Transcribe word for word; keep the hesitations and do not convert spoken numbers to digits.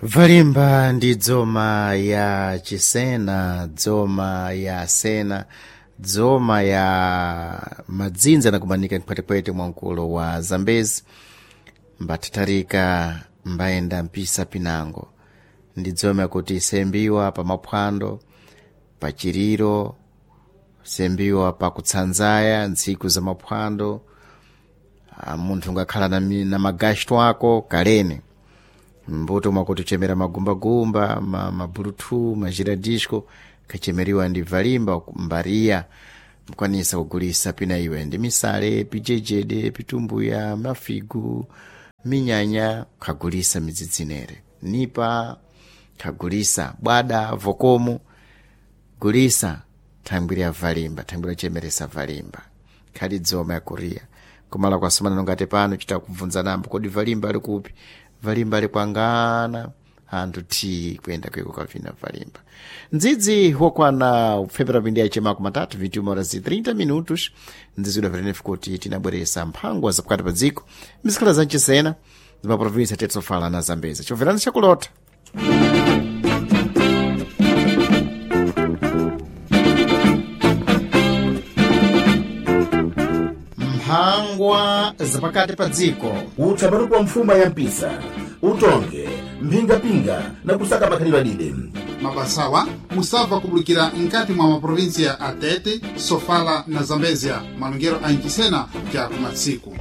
Valimba ndi dzoma ya chisena, dzoma ya sena, dzoma ya madzinza anakumanika mphwetepwete mwa mkulo wa Zambezi, mbathatharika mbayenda mpisa pinango. Ndi dzoma yakuti isembiwa pa maphwando, pa chiriro, sembiwa pa kutsanzaya ntsiku za maphwando, ah, munthu ungakhala na, mi- na magasto ako kalene mbuto mwakuti uchemera magumbagumba ma, mabulutu majiradisco kachemeriwa ndi valimba mbariya mkwanisa kugulisa pina iwe ndi misale pijejede pitumbuya mafigu minyanya khagulisa midzidzinere nipa khagulisa bwada vokomo gulisa thangwi lya valimba thangwi lochemeresa valimba khali dzoma ya kuriya kumala kwasomana nongati pano chita kubvunza nambo kodi valimba ali kupi valimba ali kwangana anthu ti kuyenda kweko kavina valimba ndzidzi wokwana kupfepera pindi yachemako matatu vinte horas e trinta minutos ndzidzi udapetenefu kuti tinabweresa mphangwa zapakati pa dziko mizikhala za mchisena zimaprovinsi tetsofala na Zambezi chobverani chakulota mphangwa zapakati pa dziko utsamatuku wa mfuma ya mpisa utonge mphingapinga na kusaka makhalidwe adide Mabasawa musabva kubulikira nkati mwa maprovinsia a Tete, Sofala na Zambezia, malongero a Nchisena ja kumatsiku.